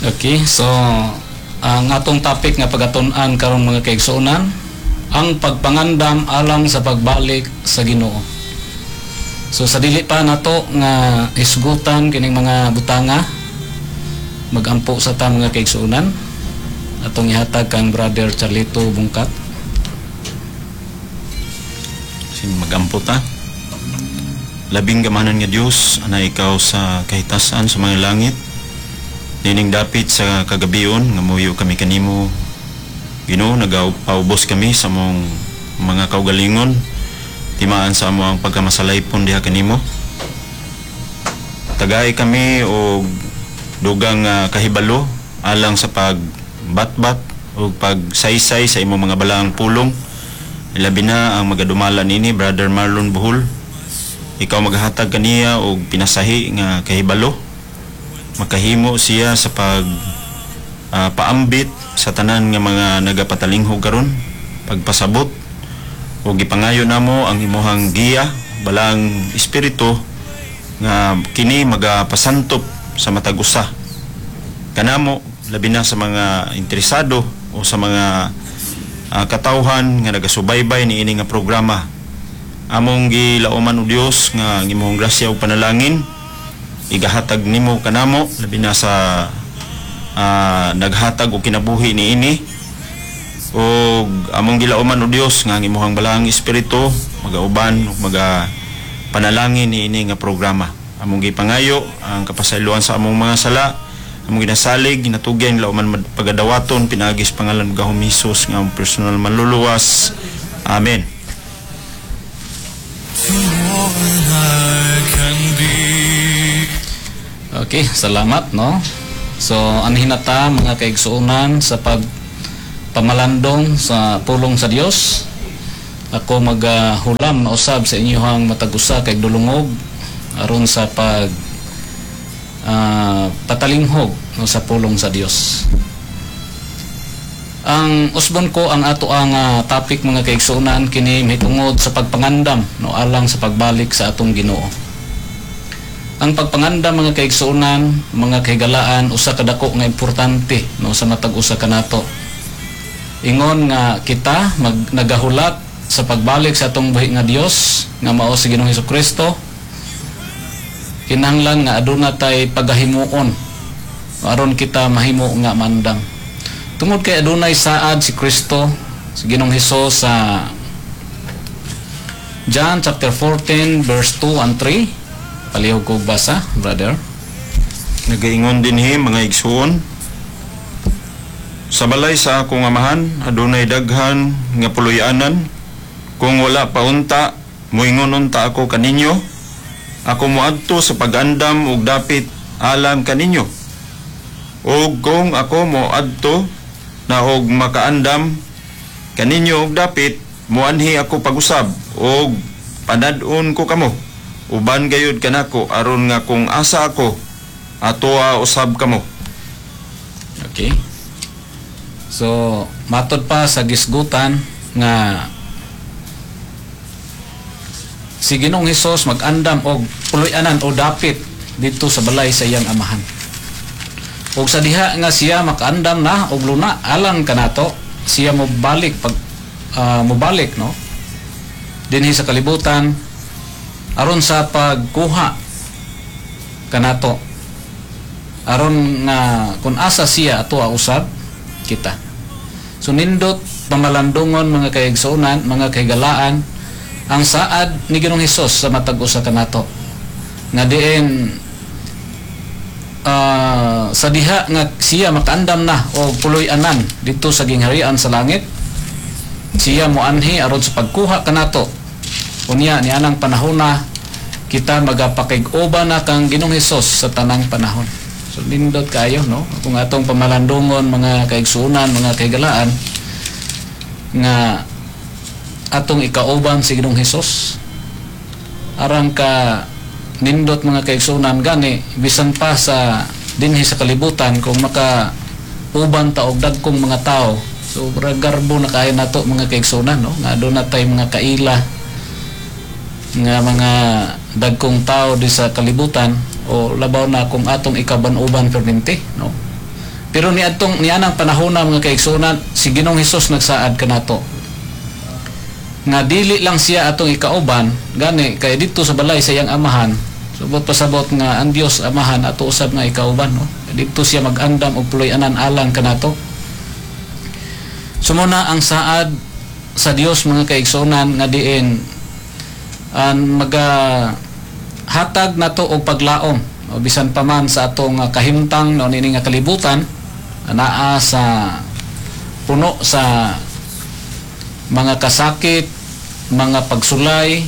Okay, so ang atong topic nga pagatun-an karon, mga kaigsuonan, ang pagpangandam alang sa pagbalik sa Ginoo. So sa dili pa nato nga hisgutan kining mga butanga, magampo sa ta, mga kaigsuonan. Atong ihatag kang Brother Charlito Bungkat. Sin magampo ta. Labing gamahanan nga Dios, ana ikaw sa kahitasan sa mga langit. Nining dapit sa kagabion nga muyo kami kanimo. Ginoo, nagapaubos kami sa among mga kaugalingon. Timaan sa amo ang pagkamasalaypon diha kanimo. Tagay kami og dugang kahibalo alang sa pagbatbat o pagsaysay sa imong mga balaang pulong. Labi na ang magadumala nini, Brother Marlon Buhol. Ikaw maghatag kaniya og pinasahi nga kahibalo. Makahimo siya sa pag paambit sa tanan nga mga nagapatalinghog karon, pagpasabot, ug gipangayo namo ang imuhang giya, Balaang Espiritu, nga kini magapasantop sa matag usa kanamo, labi na sa mga interesado o sa mga katawhan nga nagasubaybay niini nga programa. Among gilauman, o Dios, nga ang imong grasya ug panalangin igahatag nimo kanamo, labi na sa naghatag og kinabuhi niini. Ug among gilauman, o Dios, nga ang imong Balaang Espiritu magauban ug maga panalangin niini nga programa. Among gipangayo ang kapasayloan sa among mga sala. Among ginasalig, ginatugyan, lauman, pagadawaton pinaagi sa pangalan ng Gahom Hesus nga among personal manluluwas. Amen. To all I can be. Okay, salamat, no. So anhin na ta, mga kaigsuonan, sa pag pamalandong sa pulong sa Dios. Ako magahulam na usab sa inyong matag usa kay dulungog aron sa pag patalinghog, no, sa pulong sa Dios. Ang usbon ko ang ato ang topic, mga kaigsuonan, kini mahitungod sa pagpangandam, no, alang sa pagbalik sa atong Ginoo. Ang pagpangandam, mga kaigsuonan, mga kahigalaan, usa ka dako nga importante, no, sa matag usa kanato. Ingon nga kita nagahulat sa pagbalik sa atong buhi nga Dios nga mao si Ginoong Kristo, kinahanglan nga aduna tay pagahimuon aron kita mahimo nga mandam. Tungod kay adunay saad si Kristo, si Ginoong Hesus, sa John chapter 14 verse 2 and 3. Palihog ko basa, brother. Nagaingon dinhi, mga igsuon: "Sa balay sa akong amahan adunay daghan nga puloy-anan. Kung wala pa unta, moingon unta ako kaninyo. Ako moadto sa pag-andam og dapit alang kaninyo. Ug kung ako moadto na og makaandam kaninyo og dapit, muanhi ako pag-usab og panad-on ko kamo. Uban gayud kanako aron nga kung asa ako, atoa usab kamo." Okay. So, matod pa sa gisgutan nga si Ginoong Hesus mag-andam og puloy-anan o dapit dito sa balay sa iyang amahan. Og sa diha nga siya makaandam na og luna alang kanato, siya mobalik pag mobalik, no, dinhi sa kalibutan aron sa pagkuha kanato, aron nga kung asa siya, ato usab kita. So nindot pamalandungon, mga kaigsuonan, mga kahigalaan, ang saad ni Ginoong Hesus sa matag usa kanato nga diin sa diha nga siya makaandam na o puloy-anan dito sa gingharian sa langit, siya moanhi aron sa pagkuha kanato. Unya ni anang panahona kita magapakig-uban na kang Ginoong Hesus sa tanang panahon. So nindot kayo, no, kung atong pamalandungon, mga kaigsuonan, mga kahigalaan, nga atong ikauban si Ginoong Hesus. Arang ka nindot, mga kaigsuonan. Gani bisan pa sa dinhi sa kalibutan, kung maka uban ta og dagkong mga tao, so garbo na kayo nato, mga kaigsuonan, no, nga aduna tay mga kaila nga mga dagkong tao di sa kalibutan, o labaw na kung atong ikaban-uban perminti, no. Pero niadtong nianang panahon na, mga kaigsuonan, si Ginoong Hesus nagsaad kanato nga dili lang siya atong ikauban gani kay didto sa balay sa iyang Amahan. Subot pasabot nga ang Dios Amahan ato usab nga ikauban, no? Didto siya mag-andam og puloy-anan alang kanato. So mao na ang saad sa Dios, mga kaigsuonan, nga diin ang maga hatag nato og paglaom, o bisan pa man sa atong kahimtang, no, nini nga kalibutan anaa sa puno sa mga kasakit, mga pagsulay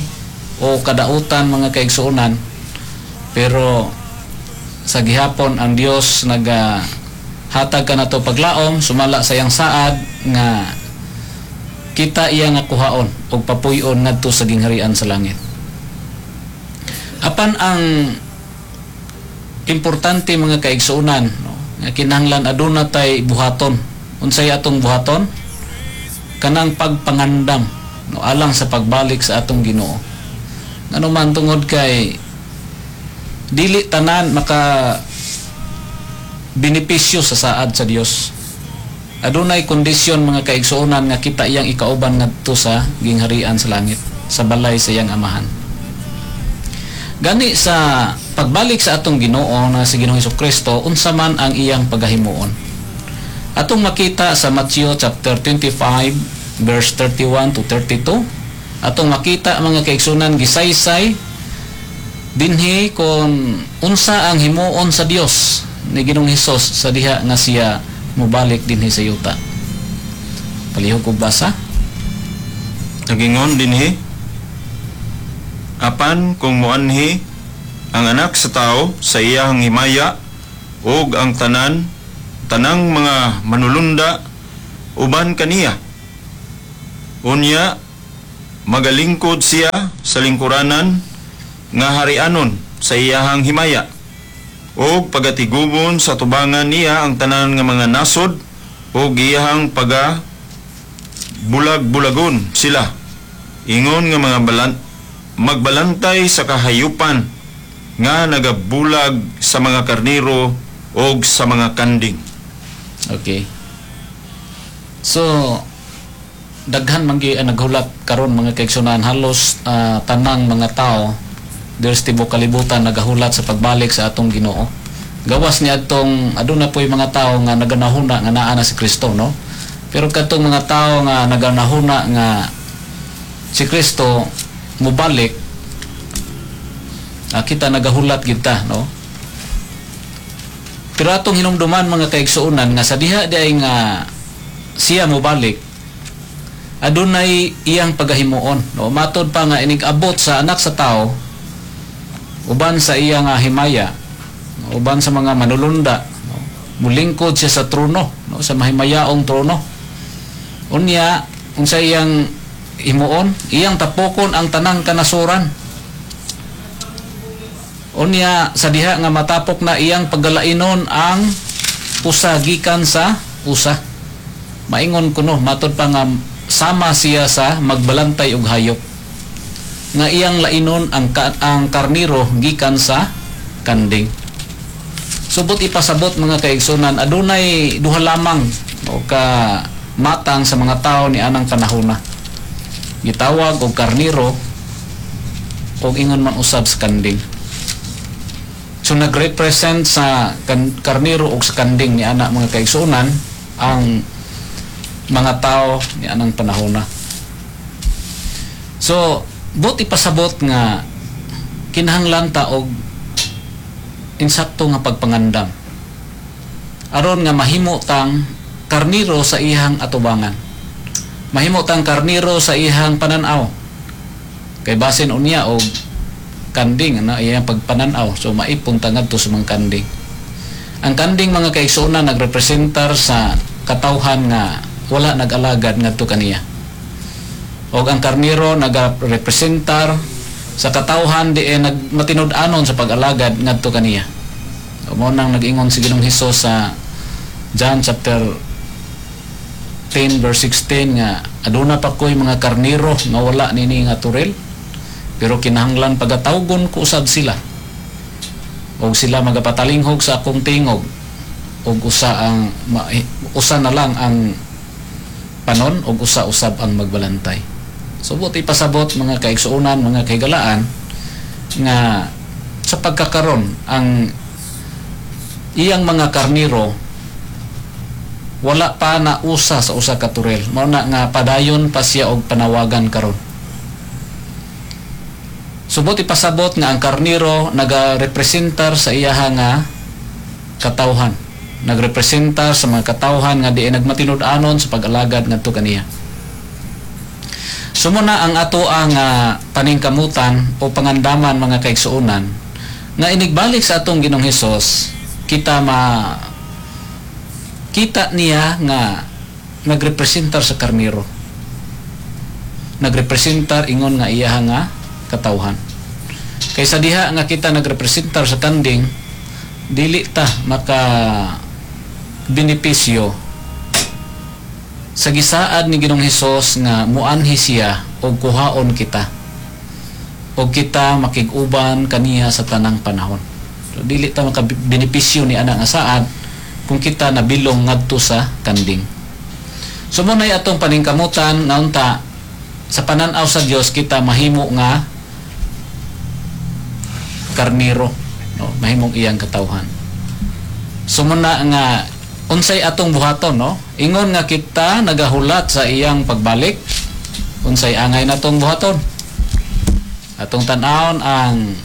o kadautan, mga kaigsuonan, pero sa gihapon ang Dios naga hatag kanato paglaom sumala sa iyang saad nga kita iya nga kuhaon og papuy-on ngadto sa gingharian sa langit. Apan ang importante, mga kaigsuonan, no, nga kinahanglan aduna tay buhaton. Unsay atong buhaton? Kanang pagpangandam, no, alang sa pagbalik sa atong Ginoo. Ngano man, tungod kay dili tanan maka benepisyo sa saad sa Dios. Adunay kondisyon, mga kaigsuonan, nga kita iyang ikauban ngadto sa gingharian sa langit, sa balay sa iyang Amahan. Gani sa pagbalik sa atong Ginoo na si Ginoong Kristo, unsa man ang iyang pagahimuon? Atong makita sa Matthew chapter 25 verse 31 to 32. Atong makita, mga kaigsuonan, gisaysay dinhi kung unsa ang himuon sa Dios ni Ginoong Hesus sa diha nga siya mobalik dinhi sa yuta. Palihog og basa. Nagingon dinhi, "Apan kung muanhi ang Anak sa Tao sa iyang himaya ug ang tanang mga manulunda uban kaniya, unya magalingkod siya sa lingkuranan nga harianon sa iyahang himaya ug pagatigubon sa tubangan niya ang tanan nga mga nasod ug iyahang paga bulag-bulagon sila ingon nga mga magbalantay sa kahayupan nga nagabulag sa mga karnero og sa mga kanding." Okay. So daghan man gyud ang naghulat karon, mga kaigsuonan. Halos tanang mga tao diri sa tibuok kalibutan nagahulat sa pagbalik sa atong Ginoo. Gawas ni adtong aduna po'y mga tao nga naganahuna nga naa na si Kristo, no? Pero kadtong mga tao nga naganahuna nga si Kristo mobalik, kita nagahulat gid ta, no? Pero atong hinumduman, mga kaigsuonan, nga sa diha diay nga siya mobalik, adunay iyang pagahimuon, no? Matod pa nga inig abot sa Anak sa Tao uban sa iya nga himaya, no, uban sa mga manulunda, no, mulingkod siya sa trono, no, sa mahimayaong trono. Unya unsa iyang himuon? Iyang tapokon ang tanang kanasuran. Unya sa diha nga matapok na, iyang paggalainon ang usa gikan sa usa. Maingon kuno, matod pa nga sama siya sa magbalantay og hayop nga iyang lainon ang karniro gikan sa kanding. Subot ipasabot, mga kaigsunan, adunay duha lamang o ka matang sa mga tao ni anang panahona, gitawag og karniro og ingon man usab sa kanding. So nagrepresent sa karniro og sa kanding ni ana, mga kaigsuonan, ang mga tao ni anang panahona. So buot ipasabot nga kinahanglan ta og insakto nga pagpangandam aron nga mahimo tang karniro sa iyang atubangan, mahimo tang karniro sa iyang pananaw, kay basin unya og kanding na iyang pagpananaw, so maipon ta ngadto sa mga kanding. Ang kanding, mga kaigsuonan, nagrepresentar sa katawhan nga wala nag-alagad ngadto kaniya, og ang karniro nagarepresentar sa katawhan diin nagmatinud-anon sa pag-alagad ngadto kaniya. Mao nang nag-ingon si Ginoong Hesus sa John chapter 10 verse 16 nga aduna pa ko'y mga karniro nga wala nini nga turil, pero kinahanglan pagatawgon ko usab sila og sila magapatalinghog sa akong tingog. ug usa ang usa na lang ang panon ug usa usab ang magbalantay. So buot ipasabot, mga kaigsuonan, mga kahigalaan, nga sa pagkakaron ang iyang mga karniro wala pa na usa sa usa ka turel. Mao na nga padayon pa siya og panawagan karon. So buot ipasabot nga ang karniro nagarepresentar sa iyaha nga katawhan. Nagrepresentar sa mga katawhan nga di nagmatinud-anon sa pag-alagad ngadto kaniya. So muna ang ato ang paningkamutan o pangandaman, mga kaigsuonan, nga inigbalik sa atong Ginoong Hesus, kita ma kita niya nga nagrepresentar sa karniro. Nagrepresentar ingon nga iyaha nga katawhan. Kaysa diha nga kita nagrepresentar sa kanding, dili ta maka benepisyo sa gisaad ni Ginoong Hesus nga muanhi siya og kuhaon kita og kita makig-uban kaniya sa tanang panahon. So, dili ta maka benepisyo ni ana nga saad kung kita nabilong ngadto sa kanding. So mo nay atong paningkamutan nga unta sa panan-aw sa Dios kita mahimo nga karniro, no? Mahimong iyang katawhan. So muna nga unsay atong buhaton, no? Ingon nga kita nagahulat sa iyang pagbalik, unsay angay natong buhaton? Atong tan-awon ang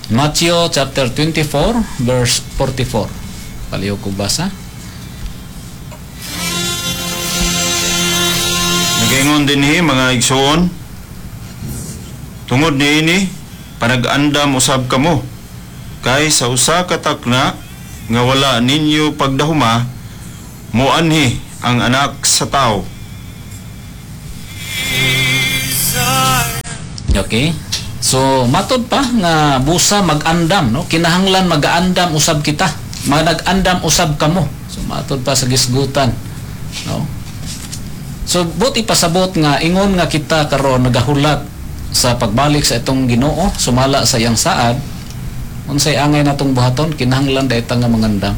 Matthew chapter 24 verse 44. Palihog kog basa. Nagaingon dinhi, mga igsuon, tungod niini panag-andam usab kamo kay sa usa ka takna nga wala ninyo pagdahuma moanhi ang Anak sa Tao. Okay. So matod pa nga busa mag-andam, no? Kinahanglan mag-andam usab kita. Manag-andam usab kamo. So matod pa sa gisgutan, no? So buot ipasabot nga ingon nga kita karon nagahulat sa pagbalik sa itong Ginoo sumala sa iyang saad, unsay angay natong buhaton? Kinahanglan dayta nga mangandam.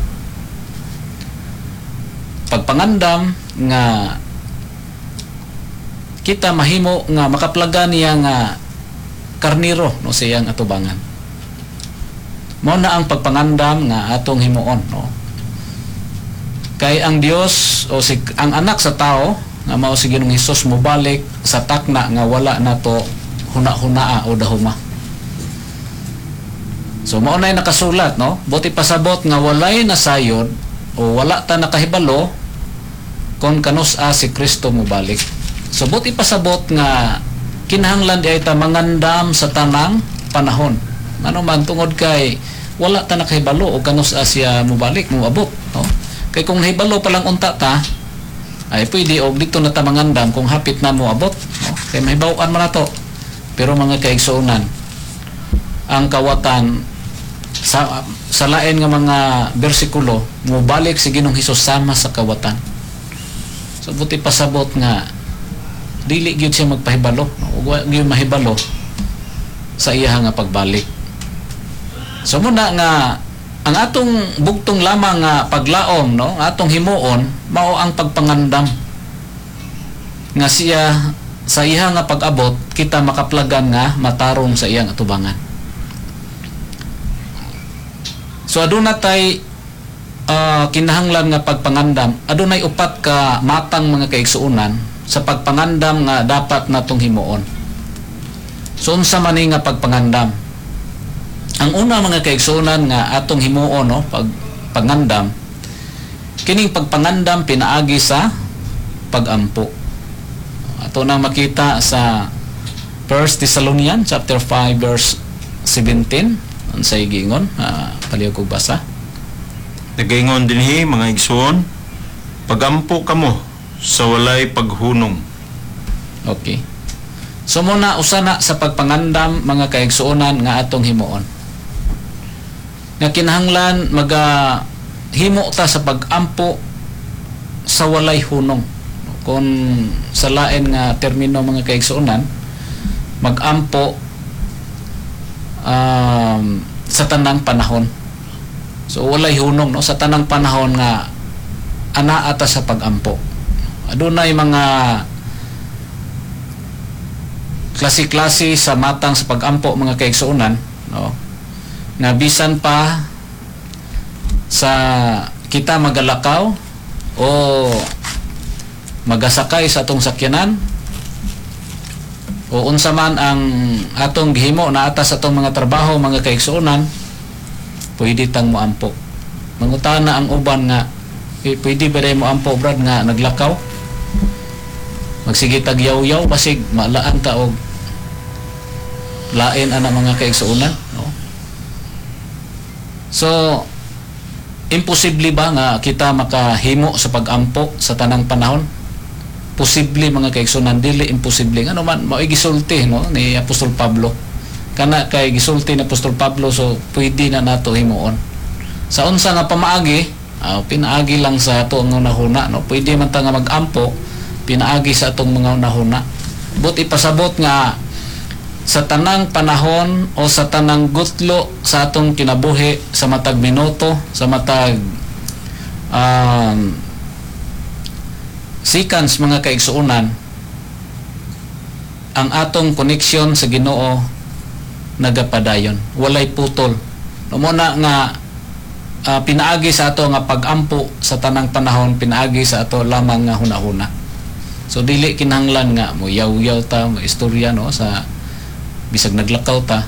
Pagpangandam nga kita mahimo nga makaplaga niya nga karniro, no, sa iyang atubangan. Mao na ang pagpangandam nga atong himuon, no? Kay ang Dios o si ang Anak sa Tao nga mao si Ginoong Hesus mobalik sa takna nga wala nato huna-hunaa o dahuma. So mao nay nakasulat, no? Buot pasabot nga walay nasayod o wala ta nakahibalo kon kanus-a si Kristo mobalik. So buot ipasabot nga kinahanglan di ay ta mangandam sa tanang panahon. Ano man tungod kay wala ta nakahibalo o kanus-a siya mobalik, moabot, no? Kay kung nahibalo pa lang unta ta, ay pwede og dito na ta mangandam kung hapit na moabot, no? Kay mahibaw-an man nato. Pero mga kaigsuonan, ang kawatan sa lain nga mga bersikulo, mobalik si Ginoong Hesus sama sa kawatan. So buti pasabot nga dili gyud siya magpahibalo, no? Ug wa gyud mahibalo sa iya nga pagbalik. So muna nga ang atong bugtong lamang nga paglaom, no, ang atong himuon mao ang pagpangandam nga siya sa iya nga pag-abot kita makaplagan nga matarong sa iyang atubangan. So aduna tay kinahanglan nga pagpangandam. Adunay upat ka matang, mga kaigsuonan, sa pagpangandam nga dapat natong himuon. So unsa man ni nga pagpangandam? Ang una, mga kaigsuonan, nga atong himuon, no, pagpangandam, kining pagpangandam pinaagi sa pagampo. Ato nang makita sa 1 Thessalonians chapter 5 verse 17. Unsay giingon? Palihog kog basa. Nagaingon dinhi, mga igsuon, pagampo kamo sa walay paghunong. Okay. So muna usa na sa pagpangandam, mga kaigsuonan, nga atong himuon. Nga kinahanglan maga himo ta sa pagampo sa walay hunong. Kung sa lain nga termino, mga kaigsuonan, magampo sa tanang panahon. So walay hunong, no, sa tanang panahon nga anaa ta sa pagampo. Adunay mga klase-klase sa matang sa pagampo, mga kaigsuonan, no, nga bisan pa sa kita magalakaw o magasakay sa atong sakyanan o unsa man ang atong gihimo naa ta sa atong mga trabaho, mga kaigsuonan, pwede tang moampo. Mangutana ang uban nga, "Eh, pwede ba mo ampo, Brad, nga naglakaw? Magsige tag yaw-yaw, basig malaan ta og lain ana," mga kaigsuonan, no? So imposible ba nga kita makahimo sa pagampo sa tanang panahon? Posible, mga kaigsuonan, dili imposible. Ngano man, mao'y gisulti, no, ni Apostol Pablo. Kana kay gisulti ni Apostol Pablo, so pwede na nato himuon. Sa unsa nga pamaagi? Pinaagi lang sa ato ang hunahuna, no? Pwede man ta nga magampo pinaagi sa atong mga hunahuna. But ipasabot nga sa tanang panahon o sa tanang gutlo sa atong kinabuhi, sa matag minuto, sa matag seconds, mga kaigsuonan, ang atong connection sa Ginoo nagapadayon, walay putol, no? Mo na nga pinaagi sa ato nga pagampo sa tanang panahon, pinaagi sa ato lamang nga hunahuna. So dili kinahanglan nga mo yaw-yaw ta, mo istorya, no, sa bisag naglakaw ta.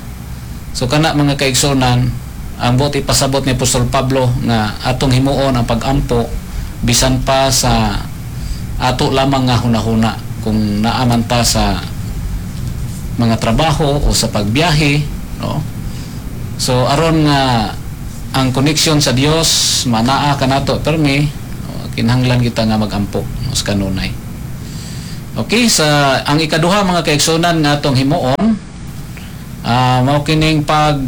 So kana, mga kaigsuonan, ang buot ipasabot ni Apostol Pablo nga atong himuon ang pagampo bisan pa sa ato lamang nga hunahuna kung naa man ta sa mga trabaho o sa pagbiyahe, no? So aron nga ang connection sa Dios manaa kanato permi, no, kinahanglan kita nga magampo, no, sa kanunay. Okay, sa ang ikaduha, mga kaigsuonan, nga atong himuon, mao kining pag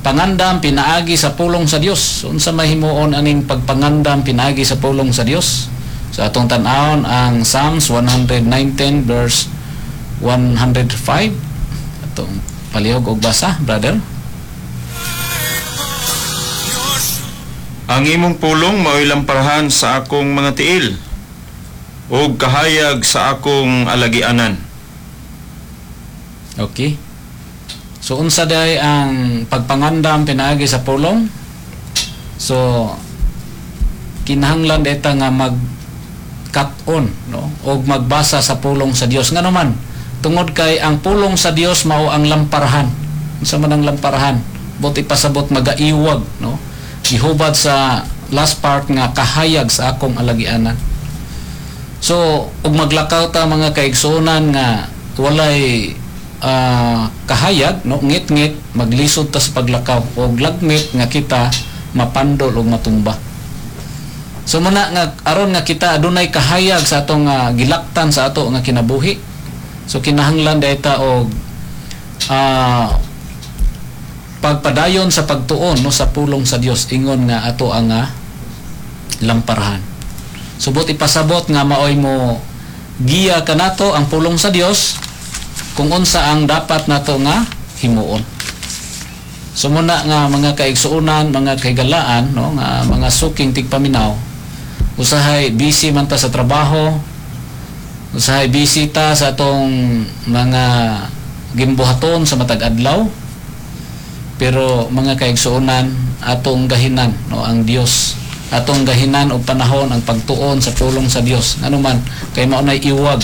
pangandam pinaagi sa pulong sa Dios. Unsa mahimuon aning pagpangandam pinaagi sa pulong sa Dios? Sa atong tan-awon ang Psalms 119 verse 105. Atong palihog og basa, brother. Ang imong pulong mao'y lamparahan sa akong mga tiil ug kahayag sa akong alagianan. Okay. So unsa day ang pagpangandam pinaagi sa pulong? So kinahanglan dita nga mag cut-on, no, og magbasa sa pulong sa Dios. Ngano man, tungod kay ang pulong sa Dios mao ang lamparahan. Unsa man ang lamparahan? Buot ipasabot, magaiwag, no? Gihubad sa last part nga kahayag sa akong alagianan. So ug maglakaw ta, mga kaigsuonan, nga walay kahayag, no, ngit-ngit, maglisod ta sa paglakaw og lagmit nga kita mapandol og matumba. So muna nga aron nga kita adunay kahayag sa atong gilaktan sa ato nga kinabuhi, so kinahanglan dayta og pagpadayon sa pagtuon, no, sa pulong sa Dios ingon nga ato ang lamparahan. Subot ipasabot nga maoy mo giya kanato ang pulong sa Dios kung unsa ang dapat nato nga himuon. So muna nga mga kaigsuonan, mga kahigalaan, no, nga mga suking tigpaminaw, usahay busy man ta sa trabaho, usahay busy ta sa atong mga gimbuhaton sa matag adlaw, pero mga kaigsuonan, atong gahinan, no, ang Dios. Atong gahinan og panahon ang pagtuon sa pulong sa Dios. Ngano man, kay mao nay iwag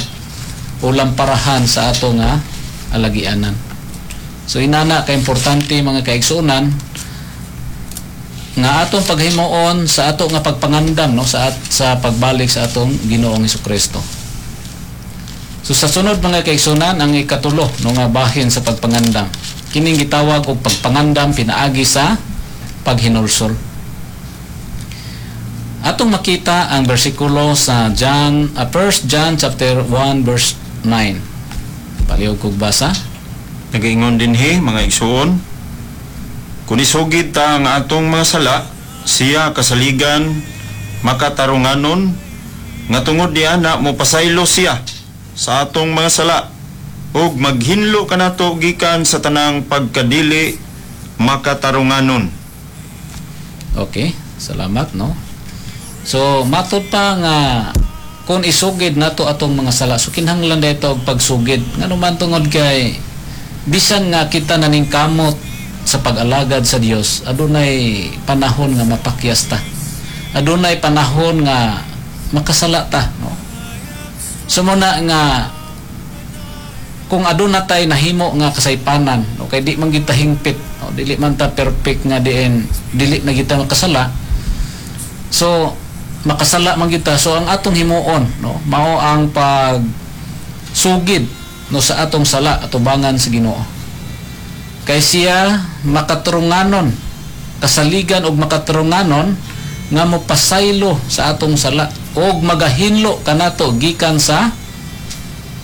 o lamparahan sa ato nga alagianan. So inana ka importante, mga kaigsuonan, nga atong paghimuon sa ato nga pagpangandam, no, sa pagbalik sa atong Ginoong Hesukristo. So sa sunod, mga kaigsuonan, ang ikatulo, no, nga bahin sa pagpangandam. Kining gitawag og pagpangandam pinaagi sa paghinulsol. Atong makita ang bersikulo sa John 1 John chapter 1 verse 9. Palihog kog basa. Nagaingon dinhi, mga igsuon, kung isugid ta ang atong mga sala, siya kasaligan makatarunganon nga tungod niana mopasaylo siya sa atong mga sala ug maghinlo kanato gikan sa tanang pagkadili makatarunganon. Okay, salamat, no. So matud pa nga kung isugid nato atong mga sala, so kinahanglan dito og pagsugid. Ngano man? Tungod kay bisan nga kita naningkamot sa pag-alagad sa Dios, adunay panahon nga mapakyas ta, adunay panahon nga makasala ta, no. So muna nga kung aduna tay nahimo nga kasaypanan, no, kay di man kita hingpit, no, dili man ta perfect nga diin dili na kita makasala. So makasala man kita. So ang atong himuon, no, mao ang pag sugid, no, sa atong sala atubangan sa Ginoo, kay siya makaturunganon, kasaligan og makaturunganon nga mopasaylo sa atong sala og magahinlo kanato gikan sa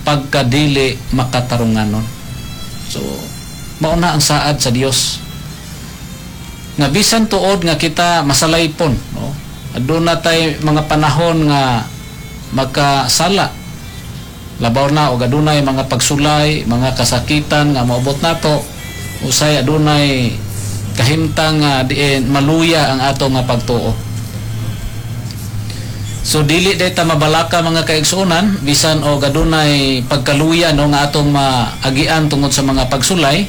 pagkadili makatarunganon. So mao na ang saad sa Dios nga bisan tuod nga kita masalaypon, no, aduna tay mga panahon nga magkasala, labaw na og adunay mga pagsulay, mga kasakitan nga moabot nato, usay adunay kahimtang nga diin maluya ang ato nga pagtuo. So dili day ta mabalaka, mga kaigsuonan, bisan og adunay pagkaluya, no, nga atong maagian tungod sa mga pagsulay,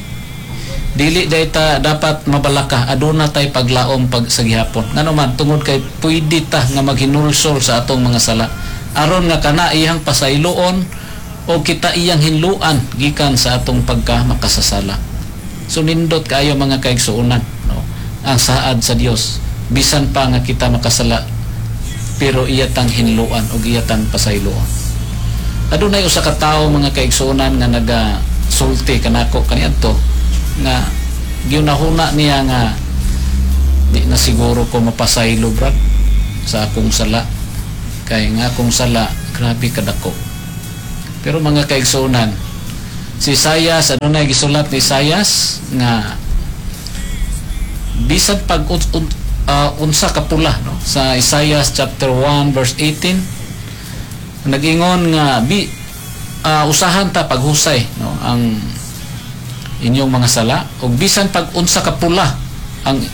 dili day ta dapat mabalaka. Aduna tay paglaom pag sa gihapon. Ngano man? Tungod kay pwede ta nga maghinulsol sa atong mga sala aron nga kana iyang pasayloon o kita iyang hinluan gikan sa atong pagka makasasala. So nindot kaayo, mga kaigsuonan, no, ang saad sa Dios. Bisan pa nga kita makasala, pero iya tang hinluan o iya tang pasayloon. Adunay usa ka tawo, mga kaigsuonan, nga naga sulti kanako kaniadto nga giunahuna niya nga di na siguro ko mapasaylo, brad, sa akong sala, kay nga akong sala grabe kadako. Pero mga kaigsuonan, si Isayas, adunay gisulat ni Isayas nga bisan pag unsa ka pula, no, sa Isaiah chapter 1 verse 18, nag-ingon nga bi usahan ta paghusay, no, ang inyong mga sala, ug bisan pag unsa ka pula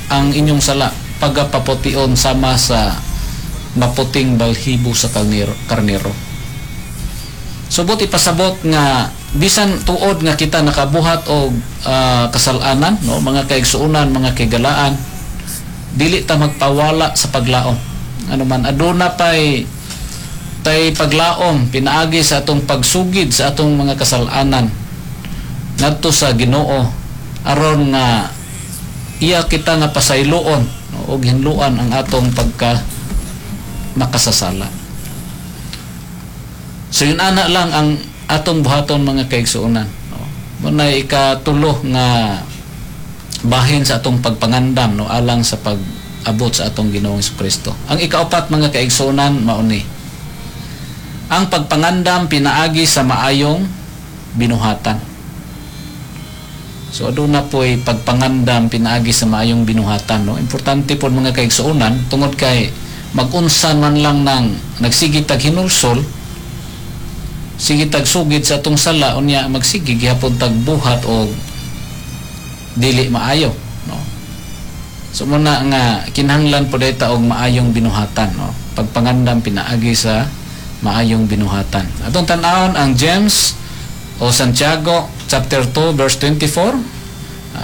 ang inyong sala, pagapaputiun sama sa maputing balhibo sa karnero. Subot ipasabot nga bisan tuod nga kita nakabuhat og kasalanan, no, mga kaigsuonan, mga kaigalaan, dili ta magpawala sa paglaom. Ano man, aduna pay tay paglaom pinaagi sa atong pagsugid sa atong mga kasalanan ngadto sa Ginoo aron nga iya kita nga pasayloon, no, og hinluan ang atong pagka makasasala. So yun ana lang ang atong buhaton, mga kaigsuonan, no. Muna ikatulo nga bahin sa atong pagpangandam, no, alang sa pag-abot sa atong Ginoong Kristo. Ang ikaapat, mga kaigsuonan, mao ni ang pagpangandam pinaagi sa maayong binuhatan. So aduna po'y pagpangandam pinaagi sa maayong binuhatan, no. Importante po, mga kaigsuonan, tungod kay magunsa man lang nang nagsige tag hinulsol, sige tag sugid sa atong sala, unya magsige gihapon tag buhat og dili maayo, no. So muna nga kinahanglan po ta og maayong binuhatan, no, pagpangandam pinaagi sa maayong binuhatan. Atong tan-awon ang James o Santiago chapter 2 verse 24.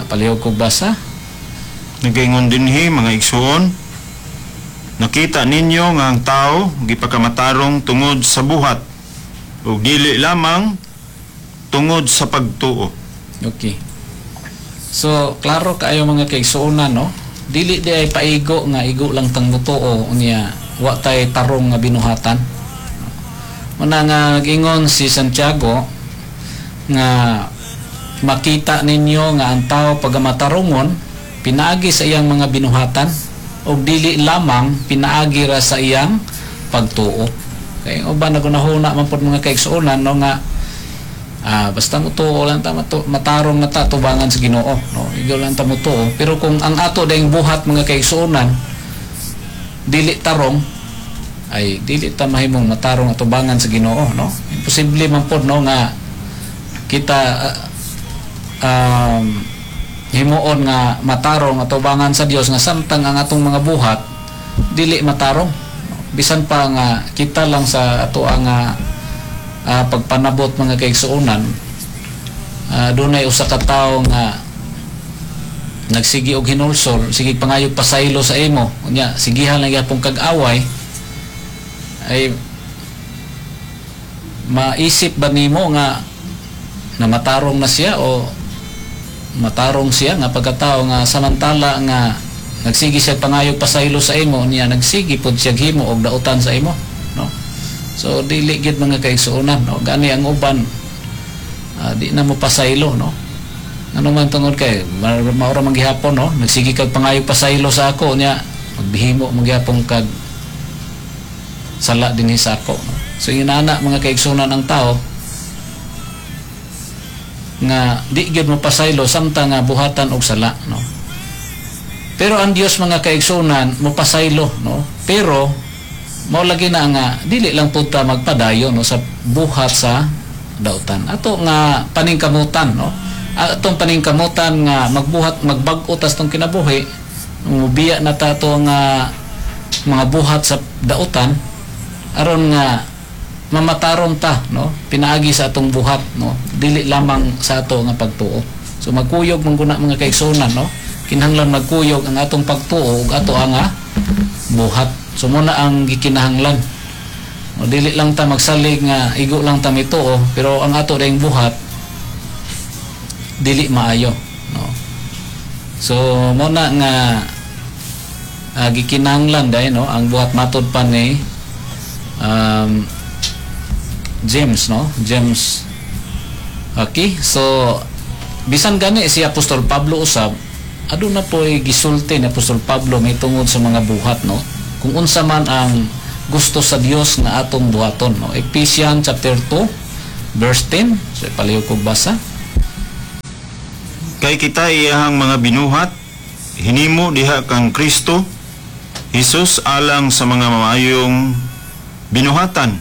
Palihog ko basa. Nagaingon dinhi, mga igsuon, nakita ninyo nga ang tao gipakamatarong tungod sa buhat ug dili lamang tungod sa pagtuo. Okay. So, klaro kaayo, mga kaigsuonan, no? Dili di ay paigo nga igo lang tang mutuo unya wa tay tarong nga binuhatan. Muna nga nag-ingon si Santiago nga makita ninyo nga ang tao pagamatarungon pinaagi sa iyang mga binuhatan ug dili lamang pinaagi ra sa iyang pagtuo. Kay uban nagunahuna man pod, mga kaigsuonan, no, nga basta mutuo lang ta, matarong na ta tubangan sa Ginoo, no, igo lang ta mutuo. Pero kung ang ato dayong buhat, mga kaigsuonan, dili tarong, ay dili ta mahimong matarong atubangan sa Ginoo, no. Imposible man pod, no, nga kita himuon nga matarong atubangan sa Dios nga samtang ang atong mga buhat dili matarong, bisan pa nga kita lang sa ato ang pagpanabot, mga kaigsuonan, dunay usa ka tawo nga nagsigi og hinulsol, sige pangayog pasaylo sa imo, unya sigihan lang gyapon kag away, ay maisip ba nimo nga na matarong na siya o matarong siya nga pagkatao nga samantala nga nagsigi siya pangayog pasaylo sa imo, niya nagsigi pod siya himo og dautan sa imo, no? So dili gyud, mga kaigsuonan, no? Gani ang uban, di na mo pasaylo, no? Ano man tungod kay maura man gihapon, no? Nagsigi kag pangayog pasaylo sa ako, niya magbihimo man gihapon kag sala dinhi sa ako, no? So inana, mga kaigsuonan, ang tao nga di gyud mo pasaylo samtang nga buhatan og sala, no? Pero ang Dios, mga kaigsuonan, mopasaylo, no? Pero mao lagi na nga dili lang pud ta magpadayon, no, sa buhat sa dautan. Ato nga paningkamutan, no, atong paningkamutan nga magbuhat, magbag-o tas tong kinabuhi, mubiya na ta ato nga mga buhat sa dautan aron nga mamatarong ta, no, pinaagi sa atong buhat, no, dili lamang sa ato nga pagtuo. So magkuyog man guna, mga kaigsuonan, no? Kinahanglan magkuyog ang atong pagtuo ug ato ang buhat. So muna ang gikinahanglan o, dili lang ta magsalig nga igo lang ta mituo pero ang ato dayong buhat dili maayo, no? So mo na nga gikinahanglan dai, no, ang buhat matod pa ni James, no? James. Okay, so bisan gani si Apostol Pablo usab, aduna po'y gisulti ni Apostol Pablo may tungod sa mga buhat, no, kung unsa man ang gusto sa Dios nga atong buhaton, no? Ephesians chapter 2 verse 10. So palihog kog basa. Kay kita iyahang mga binuhat, hinimo diha kang Kristo Jesus alang sa mga maayong binuhatan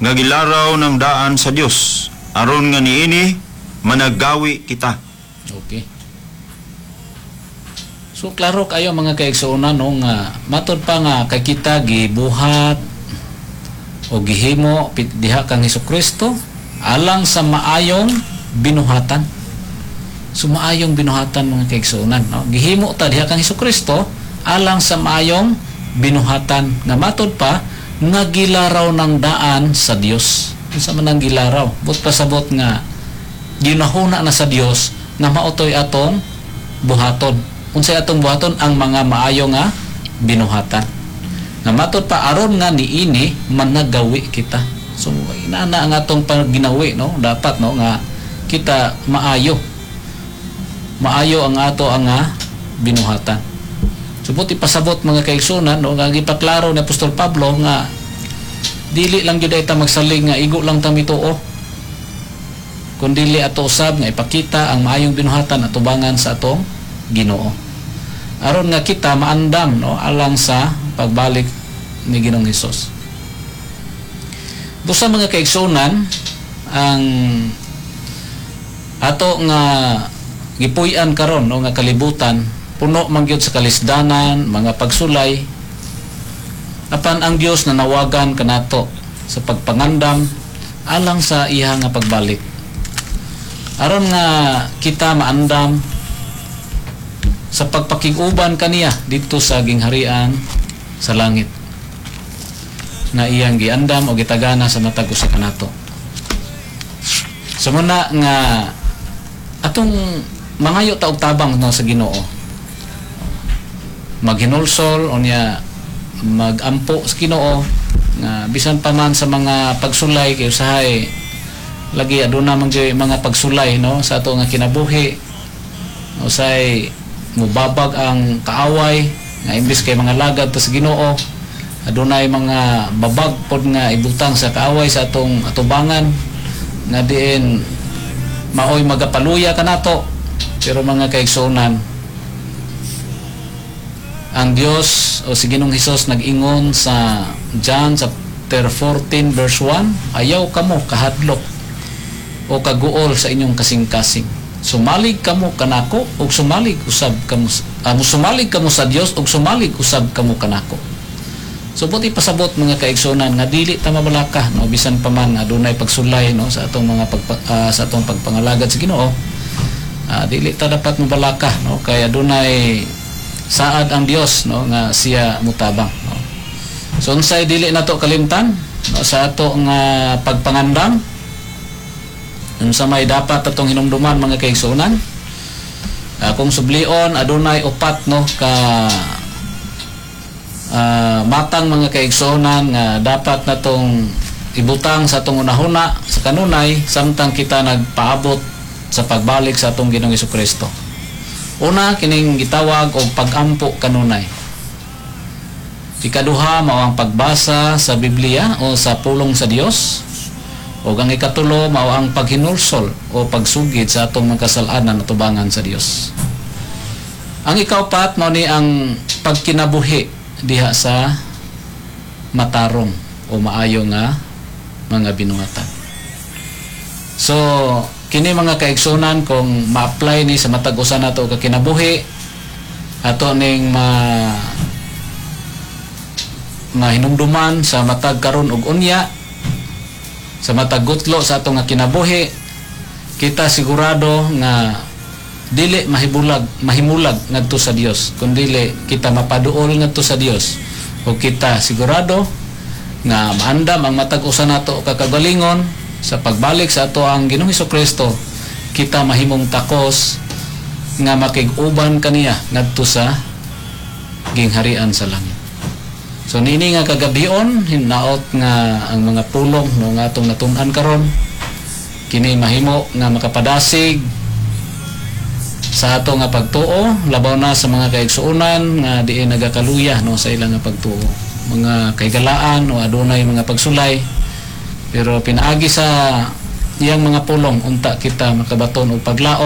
nga gilaraw ng daan sa Dios aron nga niini managawi kita. Okay. So klaro kayo, mga kaigsuonan, no, nga matod pa nga kay kita gibuhat o gihimo diha kang Hesukristo alang sa maayong binuhatan. So maayong binuhatan, mga kaigsuonan, no? Gihimo ta diha kang Hesukristo alang sa maayong binuhatan nga matod pa nga gilaraw ng daan sa Dios. Unsa man ang gilaraw? But pasabot nga ginahuna na sa Dios nga maotoy atong buhaton. Unsay atong buhaton? Ang mga maayo nga binuhatan. Nga matod pa aron nga niini managawi kita. So inana ang atong pagginawi, no? Dapat, no, nga kita maayo. Maayo ang ato ang nga binuhatan. So buti pasabot, mga kaigsunan, no, nga gipaklaro ni Apostol Pablo nga dili lang gyud ay ta magsalig nga igo lang ta mituo kun dili ato usab nga ipakita ang maayong binuhatan atubangan sa atong Ginoo aron nga kita maandam, no, alang sa pagbalik ni Ginoong Hesus. Busa, mga kaigsunan, ang ato nga gipuy-an karon, no, nga kalibutan puno man gyud sa kalisdanan, mga pagsulay, apan ang Dios nanawagan kanato sa pagpangandam alang sa iya nga pagbalik aron nga kita maandam sa pagpakig-uban kaniya didto sa gingharian sa langit na iyang giandam o gitagana sa matag usa kanato. So muna nga atong mangayo ta og tabang, no, sa Ginoo. Maghinulsol unya magampo sa Ginoo nga bisan pa man sa mga pagsulay, kay usahay lagi aduna man gyud mga pagsulay, no, sa ato nga kinabuhi. Usay mubabag ang kaaway nga imbis kay mga lagad ta sa Ginoo, adunay mga babag pod nga ibutang sa kaaway sa atong atubangan nga diin maoy magapaluya kanato. Pero mga kaigsuonan, ang Dios o si Ginoong Hesus nag-ingon sa John chapter 14 verse 1, "Ayaw kamo kahadlok o kaguol sa inyong kasing-kasing." Sumalig kamo kanako ug sumalig usab kamo, musumalig kamo sa Dios ug sumalig usab kamo kanako. So buot ipasabot, mga kaigsunan, nga dili ta mabalaka, no, bisan pa man nga adunay pagsulay, no, sa atong pagpangalagad sa Ginoo. Dili ta dapat mabalaka, no, kay adunay saad ang Dios, no, nga siya mutabang, no. So unsay dili nato kalimtan, no, sa ato nga pagpangandam? Unsa may dapat atong hinumduman, mga kaigsuonan? Kung sublion, adunay upat, no, ka matang, mga kaigsuonan, nga dapat natong ibutang sa atong unahuna sa kanunay samtang kita nagpaabot sa pagbalik sa atong Ginoong Kristo. Una, kining gitawag og pagampo kanunay. Ikaduha, mao ang pagbasa sa Biblia o sa pulong sa Dios. O ang ikatulo, mao ang paghinulsol o pagsugid sa atong mga kasalanan atubangan sa Dios. Ang ikaupat, mao ni ang pagkinabuhi diha sa matarong o maayo nga mga binuhatan. So, kini, mga kaigsunan, kung ma-apply ni sa matag usa nato ka kinabuhi, ato ning mahinumduman sa matag karon ug unya, sa matag gutlo sa atong nga kinabuhi, kita sigurado nga dili mahimulag ngadto sa Dios, kun dili kita mapaduol ngadto sa Dios, ug kita sigurado nga maandam ang matag usa nato ka kagalingon sa pagbalik sa ato ang Ginoong Kristo, kita mahimong takos nga makig-uban kaniya ngadto sa gingharian sa langit. So niini nga kagabion, hinaot nga ang mga pulong, no, nga atong natun-an karon, kini mahimo nga makapadasig sa ato nga pagtuo, labaw na sa mga kaigsuonan nga diin nagakaluya, no, sa ilang nga pagtuo, mga kahigalaan o adunay mga pagsulay, pero pinaagi sa iyang mga pulong, unta kita makabaton og paglaom.